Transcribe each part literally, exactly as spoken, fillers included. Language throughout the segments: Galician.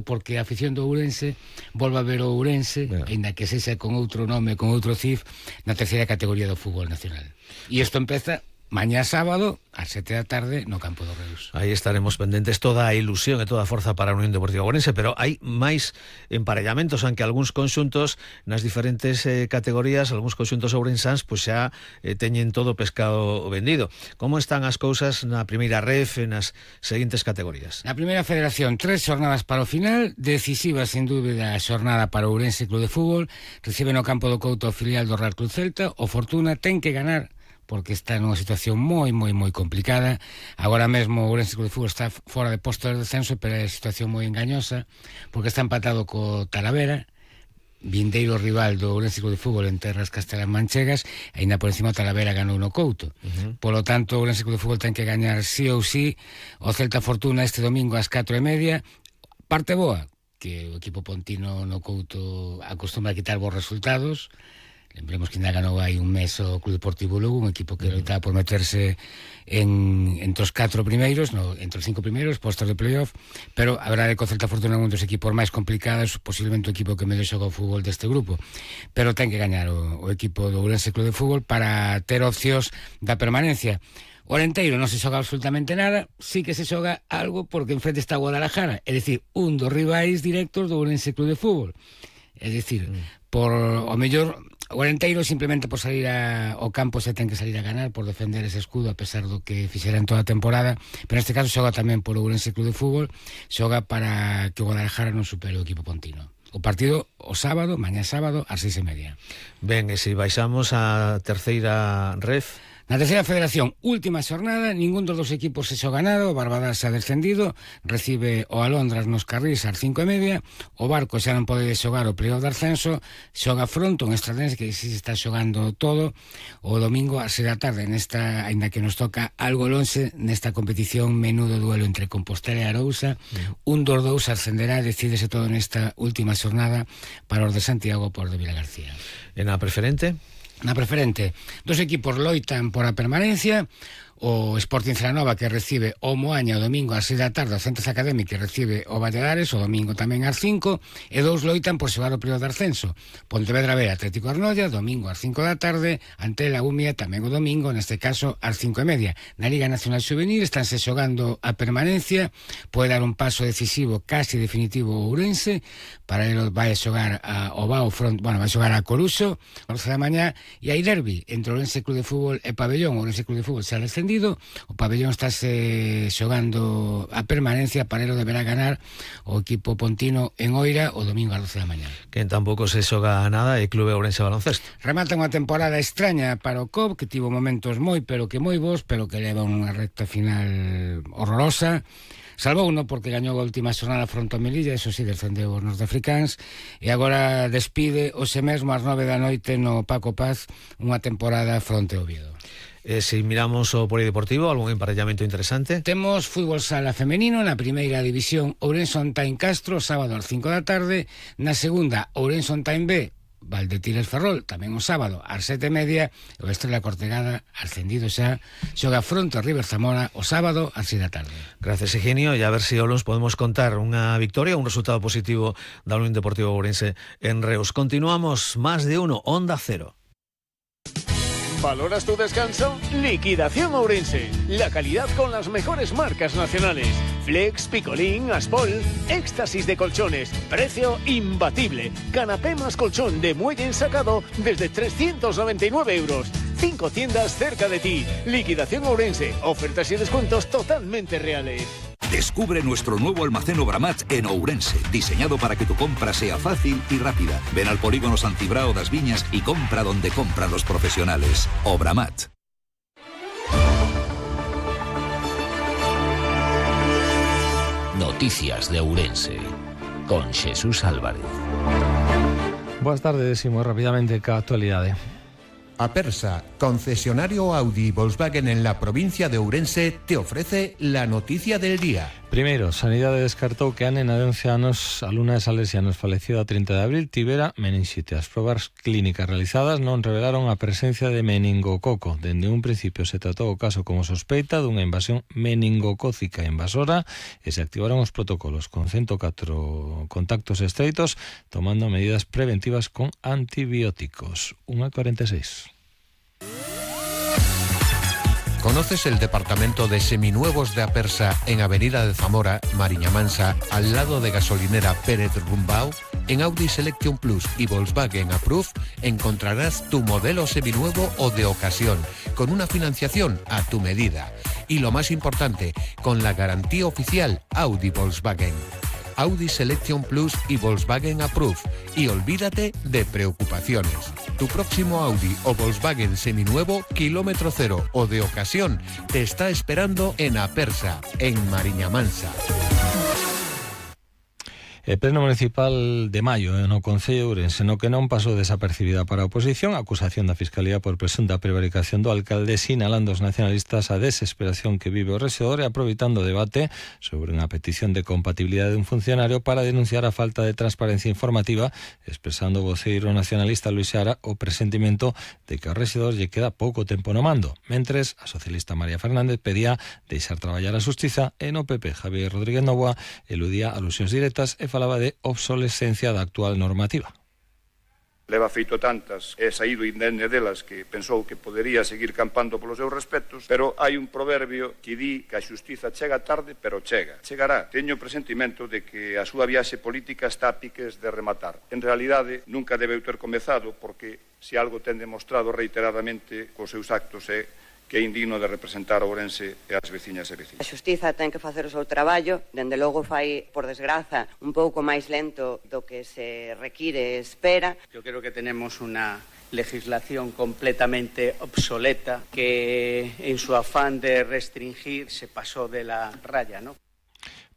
porque a afición do Ourense volva a ver o Ourense, yeah. Ainda que sexa con outro nome, con outro C I F, na terceira categoría do fútbol nacional. E isto empeza mañá sábado, ás sete da tarde, no campo do Reus. Aí estaremos pendentes, toda a ilusión e toda a forza para a Unión Deportiva Ourense, pero hai máis emparellamentos, aunque algúns conxuntos nas diferentes eh, categorías, algúns conxuntos ourensáns, pois xa eh, teñen todo o pescado vendido. Como están as cousas na primeira ref e nas seguintes categorías? Na primeira federación, tres xornadas para o final, decisiva, sin dúbida, a xornada para o Ourense Club de Fútbol, recibe no campo do Couto o filial do Real Club Celta, o Fortuna ten que ganar porque está nunha situación moi, moi, moi complicada. Agora mesmo o Ourense Club de Fútbol está fora de posto de descenso, pero é situación moi engañosa, porque está empatado co Talavera, vindeiro rival do Ourense Club de Fútbol en terras castelán-manchegas, e ainda por encima o Talavera ganou no Couto. Uh-huh. Polo tanto, o Ourense Club de Fútbol ten que gañar sí ou sí o Celta Fortuna este domingo ás catro e media. Parte boa, que o equipo pontino no Couto acostumbra a quitar bons resultados. Lembremos que ainda ganou aí un mes o Club Deportivo Lugo, un equipo que loitaba por meterse en, entre os catro primeiros, no, entre os cinco primeiros, postos de playoff, pero a verdade é que o Celta Fortuna é un dos equipos máis complicados, posiblemente o equipo que mellor xoga o fútbol deste grupo, pero ten que gañar o, o equipo do Ourense Club de Fútbol para ter opcións da permanencia. O Arenteiro non se xoga absolutamente nada, sí que se xoga algo porque enfrente está Guadalajara, é dicir, un dos rivais directos do Ourense Club de Fútbol. É dicir, mm. por o mellor o Arenteiro simplemente por salir a, ao campo se ten que salir a ganar, por defender ese escudo a pesar do que fixera en toda a temporada, pero neste caso xoga tamén por o Ourense Club de Fútbol, xoga para que o Guadalajara non supere o equipo pontino. O partido o sábado, mañá sábado, ás seis e media. Ben, e se baixamos a terceira ref... Na terceira federación, última xornada, ningún dos dos equipos se xoga nada, o Barbadas se ha descendido, recibe o Alondras nos Carrís ás cinco e media, o Barco xa non pode xogar o playoff de ascenso, xoga Fronto, un Estradense que si se está xogando todo, o domingo ás seis da tarde, nesta, ainda que nos toca algo lonxe, nesta competición menudo duelo entre Compostela e Arousa, mm. un dos dous ascenderá, decídese todo nesta última xornada para os de Santiago por de Vilagarcía. En a preferente? Na preferente, dos equipos loitan por a permanencia, o Sporting Celanova que recibe o Moaña o domingo ás seis da tarde, o Centros Académico que recibe o Valladares o domingo tamén ás cinco, e dous loitan por xogar o período de ascenso, Pontevedra B Atlético Arnoia, domingo ás cinco da tarde, ante la Umia tamén o domingo, neste caso ás cinco e media. Na Liga Nacional Xuvenil estánse xogando a permanencia, pode dar un paso decisivo, casi definitivo o Ourense, para ele vai a xogar a, o Bao Front, bueno, vai a xogar a Coruxo, a once da mañá, e hai derbi entre o Ourense Club de Fútbol e Pabellón. O Ourense Club de Fútbol xa descendido, o Pabellón estáse xogando a permanencia, para ele deberá ganar o equipo pontino en Oira o domingo ás doce da mañá. Que tampouco se xoga nada é Clube Ourense Baloncesto. Remata unha temporada extraña para o C O B, que tivo momentos moi, pero que moi bons, pero que leva unha recta final horrorosa. Salvou uno porque gañou a última xornada fronte ao Melilla, eso sí, descendeu os norteafricáns, e agora despide hoxe mesmo ás nove da noite no Paco Paz unha temporada fronte ao Oviedo. E se miramos o polideportivo, algún emparellamento interesante? Temos fútbol sala femenino na primeira división, Ourense On Time Castro, sábado ás cinco da tarde, na segunda Ourense On Time B, Valdetires Ferrol, tamén o sábado ás sete e media, e o Estrela Cortegada, ascendido xa, xoga fronte ao River Zamora o sábado ás seis da tarde. Gracias, Eugenio, e a ver se si Olons podemos contar unha victoria, un resultado positivo da Unión Deportiva Ourense en Reus. Continuamos, más de uno, Onda Cero. ¿Valoras tu descanso? Liquidación Ourense. La calidad con las mejores marcas nacionales. Flex, Picolín, Aspol. Éxtasis de colchones. Precio imbatible. Canapé más colchón de muelle ensacado desde trescientos noventa y nueve euros. Cinco tiendas cerca de ti. Liquidación Ourense. Ofertas y descuentos totalmente reales. Descubre nuestro nuevo almacén Obramat en Ourense, diseñado para que tu compra sea fácil y rápida. Ven al polígono Santibrao das Viñas y compra donde compran los profesionales. Obramat. Noticias de Ourense, con Jesús Álvarez. Boas tardes, e moi rapidamente ca actualidade. Apersa, concesionario Audi y Volkswagen en la provincia de Ourense, te ofrece la noticia del día. Primeiro, Sanidade descartou que a nena de once anos, alumna de Salesianos, falecida a trinta de abril, tivera meningite. As probas clínicas realizadas non revelaron a presencia de meningococo. Dende un principio se tratou o caso como sospeita dunha invasión meningocócica invasora e se activaron os protocolos con ciento catro contactos estreitos, tomando medidas preventivas con antibióticos. unha cuarenta e seis. ¿Conoces el departamento de seminuevos de Apersa en Avenida de Zamora, Mariña Mansa, al lado de gasolinera Pérez Rumbao? En Audi Selection Plus y Volkswagen Approve encontrarás tu modelo seminuevo o de ocasión, con una financiación a tu medida. Y lo más importante, con la garantía oficial Audi Volkswagen. Audi Selection Plus y Volkswagen Approve. Y olvídate de preocupaciones. Tu próximo Audi o Volkswagen seminuevo, kilómetro cero o de ocasión, te está esperando en Apersa, en Mariña Mansa. E pleno municipal de maio no Concello de Ourense, no que non pasou desapercibida para a oposición, a acusación da Fiscalía por presunta prevaricación do alcalde, sinalando os nacionalistas a desesperación que vive o rexedor e aproveitando o debate sobre unha petición de compatibilidade de un funcionario para denunciar a falta de transparencia informativa, expresando o voceiro nacionalista Luis Seara o presentimento de que ao rexedor lle queda pouco tempo no mando. Mentres, a socialista María Fernández pedía deixar traballar a xustiza e no P P Javier Rodríguez Novoa eludía alusións directas e falaba de obsolescencia da actual normativa. Leva feito tantas e saído indemne delas que pensou que podería seguir campando polos seus respectos, pero hai un proverbio que di que a xustiza chega tarde, pero chega. Chegará. Teño o presentimento de que a súa viaxe política está a piques de rematar. En realidade, nunca debeu ter comezado porque se algo ten demostrado reiteradamente cos seus actos é que é indigno de representar Ourense e as veciñas e veciños. A xustiza ten que facer o seu traballo, dende logo fai, por desgraza, un pouco máis lento do que se require e espera. Eu creo que tenemos unha legislación completamente obsoleta que en su afán de restringir se pasó de la raya, ¿no?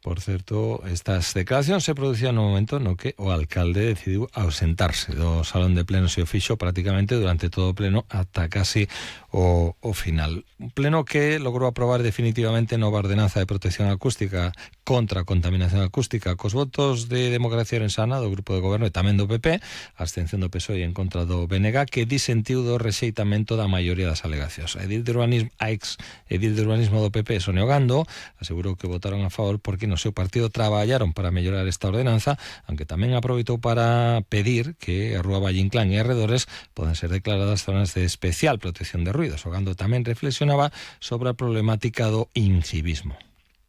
Por certo, estas declaracións se producían no momento no que o alcalde decidiu ausentarse do salón de plenos e o fixo prácticamente durante todo o pleno ata casi o, o final. Un pleno que logrou aprobar definitivamente nova ordenanza de protección acústica contra a contaminación acústica cos votos de Democracia Orensana do Grupo de Goberno e tamén do P P, a abstención do P S O E en contra do B N G, que disentiu do rexeitamento da maioría das alegacións. A edil de urbanismo, a ex edil de urbanismo do P P, Sonia Ogando, asegurou que votaron a favor porque no seu partido traballaron para mellorar esta ordenanza, aunque tamén aproveitou para pedir que a Rúa Valle Inclán e arredores poden ser declaradas zonas de especial protección de ruidos. Ogando tamén reflexionaba sobre a problemática do incivismo.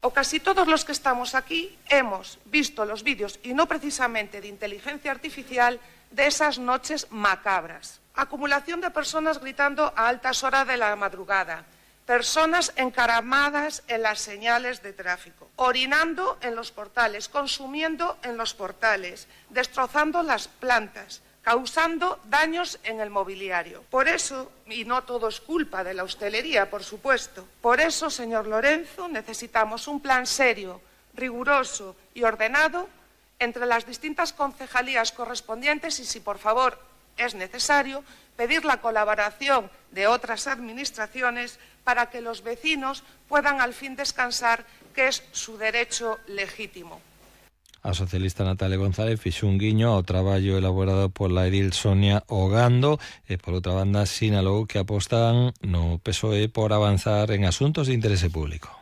O casi todos los que estamos aquí hemos visto los vídeos, y no precisamente de inteligencia artificial, de esas noches macabras. Acumulación de personas gritando a altas horas de la madrugada, personas encaramadas en las señales de tráfico, orinando en los portales, consumiendo en los portales, destrozando las plantas, causando daños en el mobiliario. Por eso, y no todo es culpa de la hostelería, por supuesto, por eso, señor Lorenzo, necesitamos un plan serio, riguroso y ordenado entre las distintas concejalías correspondientes y, si por favor es necesario, pedir la colaboración de otras administraciones para que los vecinos puedan al fin descansar, que es su derecho legítimo. A socialista Natalia González fixo un guiño ao traballo elaborado pola edil Sonia Ogando e, por outra banda, sinalou que apostan no P S O E por avanzar en asuntos de interese público.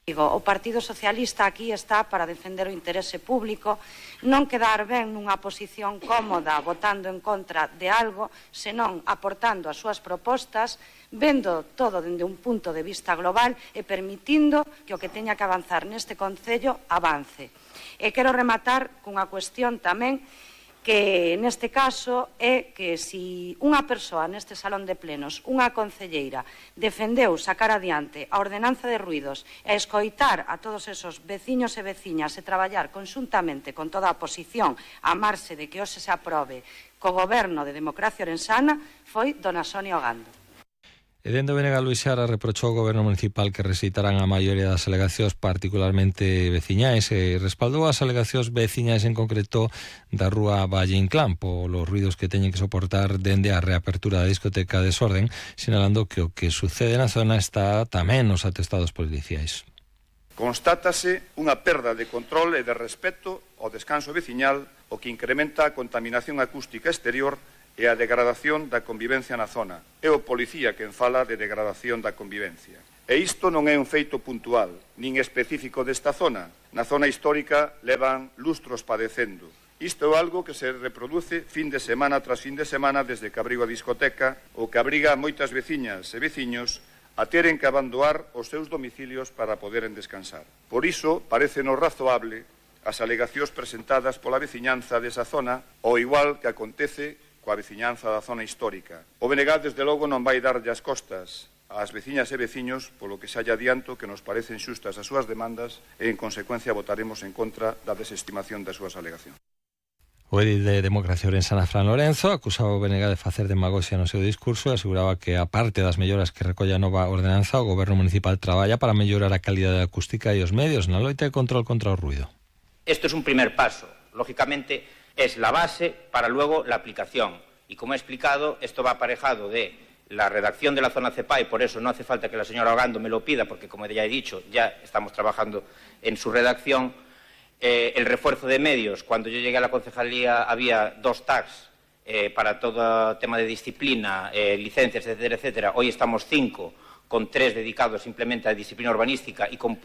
O Partido Socialista aquí está para defender o interese público, non quedar ben nunha posición cómoda votando en contra de algo, senón aportando as súas propostas, vendo todo dende un punto de vista global e permitindo que o que teña que avanzar neste Concello avance. E quero rematar cunha cuestión tamén que neste caso é que se unha persoa neste salón de plenos, unha concelleira, defendeu sacar adiante a ordenanza de ruidos e escoitar a todos esos veciños e veciñas e traballar conxuntamente con toda a oposición a amarse de que hoxe se aprobe co goberno de Democracia Orensana, foi dona Sonia Ogando. E dende o B N G Luís Seara reprochou ao goberno municipal que rexeitarán a maioría das alegacións, particularmente veciñais, e respaldou as alegacións veciñais en concreto da rúa Valle Inclán polos ruidos que teñen que soportar dende a reapertura da discoteca Desorden, sinalando que o que sucede na zona está tamén nos atestados policiais. Constátase unha perda de control e de respeto ao descanso veciñal, o que incrementa a contaminación acústica exterior e a degradación da convivencia na zona. É o policía quen fala de degradación da convivencia. E isto non é un feito puntual, nin específico desta zona. Na zona histórica levan lustros padecendo. Isto é algo que se reproduce fin de semana tras fin de semana desde que abriu a discoteca, o que abriga a moitas veciñas e veciños a teren que abandonar os seus domicilios para poderen descansar. Por iso, parecenos razoable as alegacións presentadas pola veciñanza desa zona, ao igual que acontece coa veciñanza da zona histórica. O B N G, desde logo, non vai darlle as costas ás veciñas e veciños, polo que xa lle adianto que nos parecen xustas as súas demandas e, en consecuencia, votaremos en contra da desestimación das súas alegacións. O edil de Democracia Ourensana, Fran Lorenzo, acusaba o B N G de facer demagoxia no seu discurso e aseguraba que, a parte das melloras que recolle a nova ordenanza, o goberno municipal traballa para mellorar a calidade acústica e os medios na loita de control contra o ruido. Esto es un primer paso. Lógicamente, es la base para luego la aplicación. Y como he explicado, esto va aparejado de la redacción de la zona CEPA y por eso no hace falta que la señora Ogando me lo pida, porque como ya he dicho, ya estamos trabajando en su redacción. Eh, el refuerzo de medios. Cuando yo llegué a la concejalía había dos tags eh, para todo tema de disciplina, eh, licencias, etcétera, etcétera. Hoy estamos cinco, con tres dedicados simplemente a disciplina urbanística y con,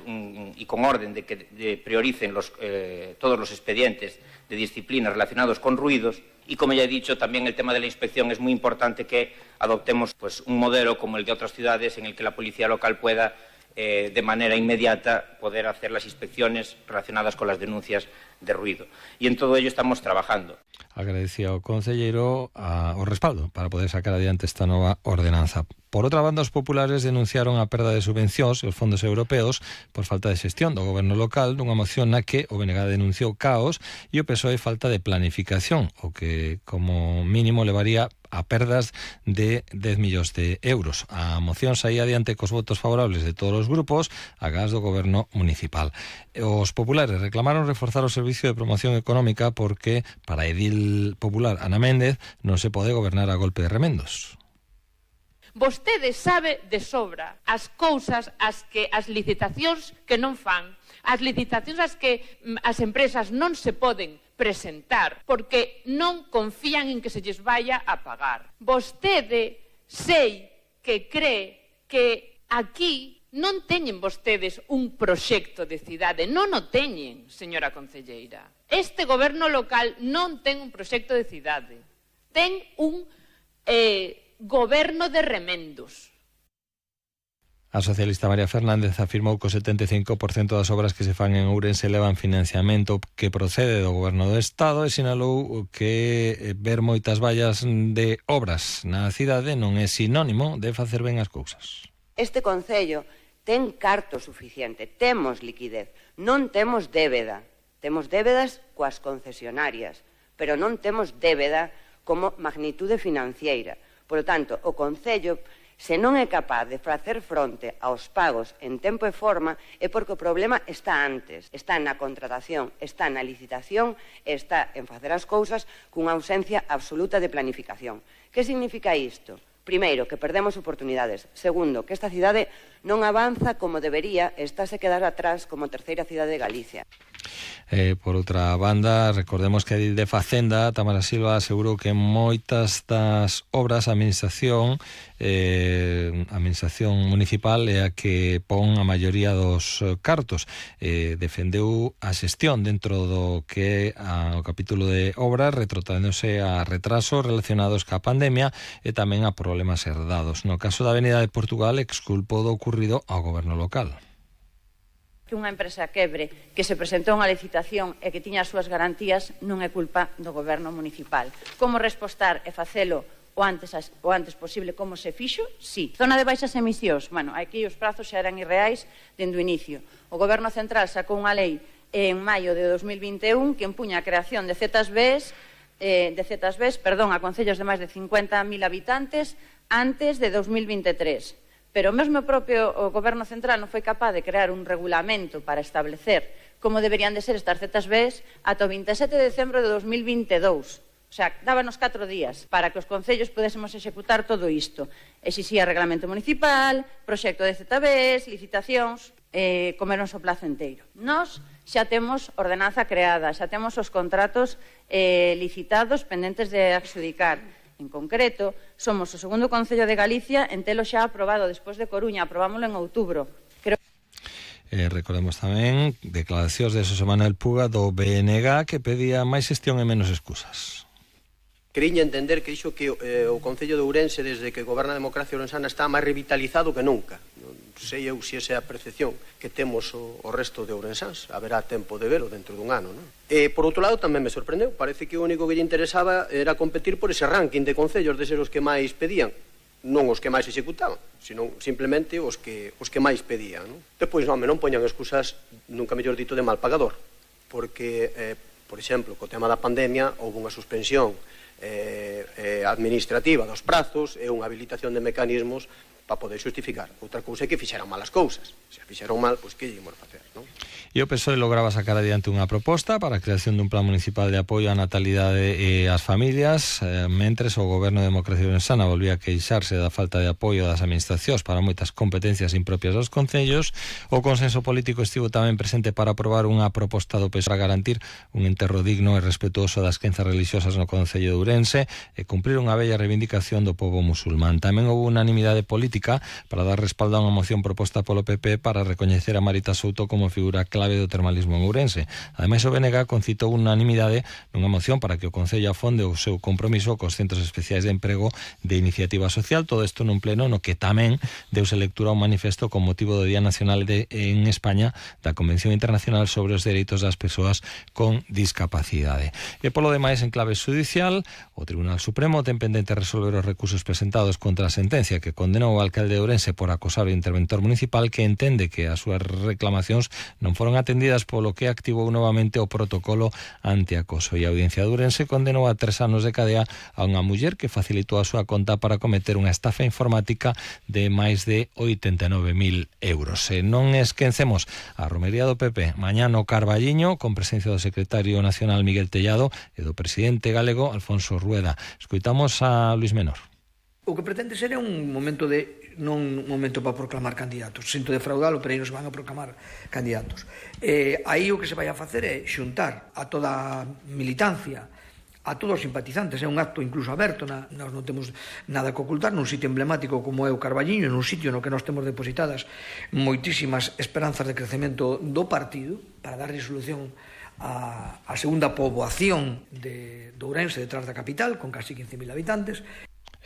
y con orden de que de prioricen los, eh, todos los expedientes de disciplina relacionados con ruidos. Y como ya he dicho, también el tema de la inspección es muy importante que adoptemos pues, un modelo como el de otras ciudades en el que la policía local pueda eh, de manera inmediata poder hacer las inspecciones relacionadas con las denuncias de ruido. Y en todo ello estamos trabajando. Agradecía ao concelleiro a, o respaldo para poder sacar adiante esta nova ordenanza. Por outra banda, os populares denunciaron a perda de subvencións e os fondos europeos por falta de xestión do goberno local nunha moción na que o B N G denunciou caos e o P S O E falta de planificación, o que como mínimo levaría a perdas de dez millóns de euros. A moción saía adiante cos votos favorables de todos os grupos agás do goberno municipal. Os populares reclamaron reforzar o servicio de promoción económica porque para a edil popular Ana Méndez non se pode gobernar a golpe de remendos. Vostede sabe de sobra as cousas as que as licitacións que non fan, as licitacións as que as empresas non se poden presentar porque non confían en que se lles vaya a pagar. Vostede sei que cree que aquí non teñen vostedes un proxecto de cidade, non o teñen, señora concelleira. Este goberno local non ten un proxecto de cidade, ten un eh, goberno de remendos. A socialista María Fernández afirmou que o setenta e cinco por cento das obras que se fan en Ourense levan financiamento que procede do goberno do Estado e sinalou que ver moitas vallas de obras na cidade non é sinónimo de facer ben as cousas. Este concello ten carto suficiente, temos liquidez, non temos débeda. Temos débedas coas concesionarias, pero non temos débeda como magnitude financiera. Por lo tanto, o concello, se non é capaz de facer fronte aos pagos en tempo e forma, é porque o problema está antes, está na contratación, está na licitación, está en facer as cousas cunha ausencia absoluta de planificación. Que significa isto? Primeiro, que perdemos oportunidades. Segundo, que esta cidade non avanza como debería e estáse quedar atrás como terceira cidade de Galicia. Eh, por outra banda, recordemos que a edil de Facenda, Tamara Silva, asegurou que moitas das obras a administración eh, a administración municipal é a que pon a maioría dos cartos. Eh, defendeu a xestión dentro do que é o capítulo de obras, retrotraéndose a retrasos relacionados ca pandemia e tamén a problemas herdados. No caso da Avenida de Portugal, exculpou do ocurrido ao goberno local. Que unha empresa quebre, que se presentou unha licitación e que tiña as súas garantías non é culpa do goberno municipal. Como respostar e facelo o antes, o antes posible como se fixo? Sí. Zona de baixas emisións. Bueno, aquí os prazos xa eran irreais dende o inicio. O goberno central sacou unha lei en maio de dos mil vinte e un que empuña a creación de Z B Es, eh, de Z B Es, perdón, a concellos de máis de cincuenta mil habitantes antes de dos mil veintitrés. Pero mesmo o propio o Goberno Central non foi capaz de crear un regulamento para establecer como deberían de ser estas Z Bs ata o veintisiete de decembro de dos mil veintidós. O sea, dábanos catro días para que os concellos pudésemos executar todo isto. Exixía reglamento municipal, proxecto de Z Bs, licitacións, eh, comernos o plazo inteiro. Nós xa temos ordenanza creada, xa temos os contratos eh, licitados pendentes de adxudicar. En concreto, somos o segundo concello de Galicia en telo xa aprobado despois de Coruña, aprobámoslo en outubro. Creo Eh, recordemos tamén declaracións de Xosé Manuel Puga do B N G que pedía máis xestión e menos excusas. Queriña entender que iso que eh, o Concello de Ourense, desde que goberna a democracia ourensana, está máis revitalizado que nunca. Non sei eu se esa é a percepción que temos o, o resto de ourensáns. Haberá tempo de velo dentro dun ano, non? E, por outro lado, tamén me sorprendeu. Parece que o único que lle interesaba era competir por ese ranking de concellos de ser os que máis pedían. Non os que máis executaban, sino simplemente os que, os que máis pedían, non? Depois, non, non poñan excusas, nunca mellor dito, de mal pagador. Porque, eh, por exemplo, co tema da pandemia, houve unha suspensión Eh, eh, administrativa dos prazos e unha habilitación de mecanismos para poder xustificar. Outra cousa é que fixeran mal as cousas. Se fixeron mal, pois que íamos facer, non? E o P S O E lograba sacar adiante unha proposta para a creación dun plan municipal de apoio á natalidade e ás familias, eh, mentres o Goberno de Democracia Ourensana volvía a queixarse da falta de apoio das administracións para moitas competencias impropias dos concellos. O consenso político estivo tamén presente para aprobar unha proposta do P S O E para garantir un enterro digno e respetuoso das crenzas religiosas no Concello de Ourense e cumprir unha bella reivindicación do pobo musulmán. Tamén houve unanimidade política para dar respaldo a unha moción proposta polo P P para recoñecer a Marita Souto como figura clave do termalismo en Ourense. Ademais, o B N G concitou unanimidade nunha moción para que o Concello afonde o seu compromiso cos centros especiais de emprego de iniciativa social. Todo isto nun pleno no que tamén deuse lectura a un manifesto con motivo do Día Nacional de, en España da Convención Internacional sobre os Dereitos das Persoas con Discapacidade. E polo demais, en clave judicial, o Tribunal Supremo ten pendente resolver os recursos presentados contra a sentencia que condenou o alcalde de Ourense por acosar o interventor municipal, que entende que as súas reclamacións non foron atendidas, polo que activou novamente o protocolo antiacoso. E a Audiencia de Ourense condenou a tres anos de cadea a unha muller que facilitou a súa conta para cometer unha estafa informática de máis de oitenta e nove mil euros. E non esquecemos a romería do P P mañá no Carballiño, con presencia do secretario nacional Miguel Tellado e do presidente galego Alfonso Rueda. Escoitamos a Luis Menor. O que pretende ser é un momento de non un momento para proclamar candidatos. Sinto defraudalo, pero aí nos van a proclamar candidatos. Eh, aí o que se vai a facer é xuntar a toda a militancia, a todos os simpatizantes. É un acto incluso aberto, na, nós non temos nada que ocultar, nun sitio emblemático como é o Carballiño, nun sitio no que nós temos depositadas moitísimas esperanzas de crecemento do partido para dar resolución a, a segunda poboación de, de Ourense detrás da capital, con casi quince mil habitantes.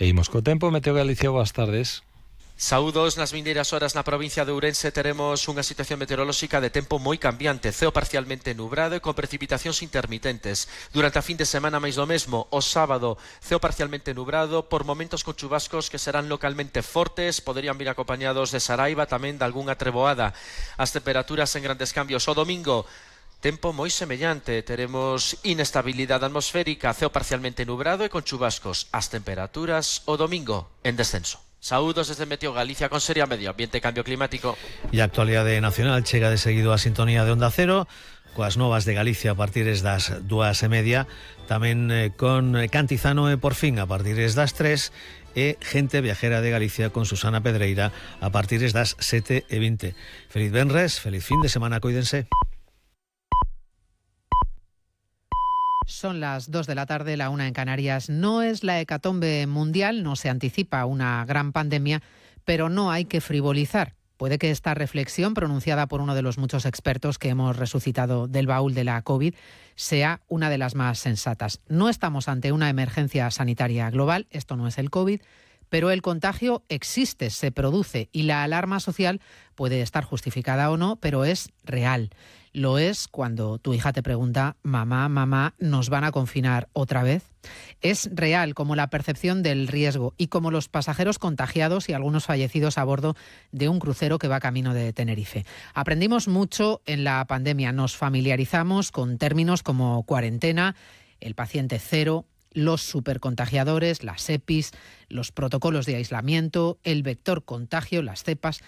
E imos co tempo. Meteo Galicia, boas tardes. Saúdos, nas vindeiras horas na provincia de Ourense teremos unha situación meteorolóxica de tempo moi cambiante, ceo parcialmente nubrado e con precipitacións intermitentes. Durante a fin de semana máis do mesmo, o sábado, ceo parcialmente nubrado, por momentos con chubascos que serán localmente fortes, poderían vir acompañados de saraiva, tamén de algunha treboada. As temperaturas en grandes cambios. O domingo, tempo moi semellante, teremos inestabilidade atmosférica, ceo parcialmente nubrado e con chubascos. As temperaturas o domingo en descenso. Saúdos desde Meteo Galicia con Seria Medio Ambiente e Cambio Climático. E a actualidade nacional chega de seguido a sintonía de Onda Cero, coas novas de Galicia a partir das dúas e media, tamén eh, con Cantizano e por fin a partir das tres, e Gente Viajera de Galicia con Susana Pedreira a partir das sete e vinte. Feliz venres, feliz fin de semana, cuídense. Son las dos de la tarde, la una en Canarias. No es la hecatombe mundial, no se anticipa una gran pandemia, pero no hay que frivolizar. Puede que esta reflexión, pronunciada por uno de los muchos expertos que hemos resucitado del baúl de la COVID, sea una de las más sensatas. No estamos ante una emergencia sanitaria global, esto no es el COVID, pero el contagio existe, se produce y la alarma social puede estar justificada o no, pero es real. Lo es cuando tu hija te pregunta, mamá, mamá, ¿nos van a confinar otra vez? Es real como la percepción del riesgo y como los pasajeros contagiados y algunos fallecidos a bordo de un crucero que va camino de Tenerife. Aprendimos mucho en la pandemia, nos familiarizamos con términos como cuarentena, el paciente cero, los supercontagiadores, las EPIs, los protocolos de aislamiento, el vector contagio, las cepas.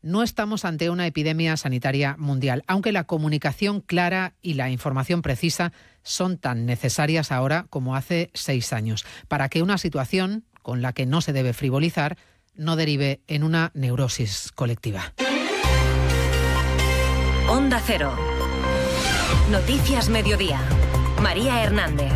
No estamos ante una epidemia sanitaria mundial, aunque la comunicación clara y la información precisa son tan necesarias ahora como hace seis años, para que una situación con la que no se debe frivolizar no derive en una neurosis colectiva. Onda Cero. Noticias Mediodía. María Hernández.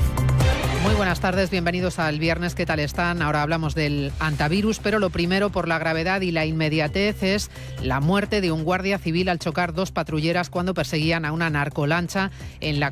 Muy buenas tardes, bienvenidos al viernes. ¿Qué tal están? Ahora hablamos del antivirus, pero lo primero, por la gravedad y la inmediatez, es la muerte de un guardia civil al chocar dos patrulleras cuando perseguían a una narcolancha en la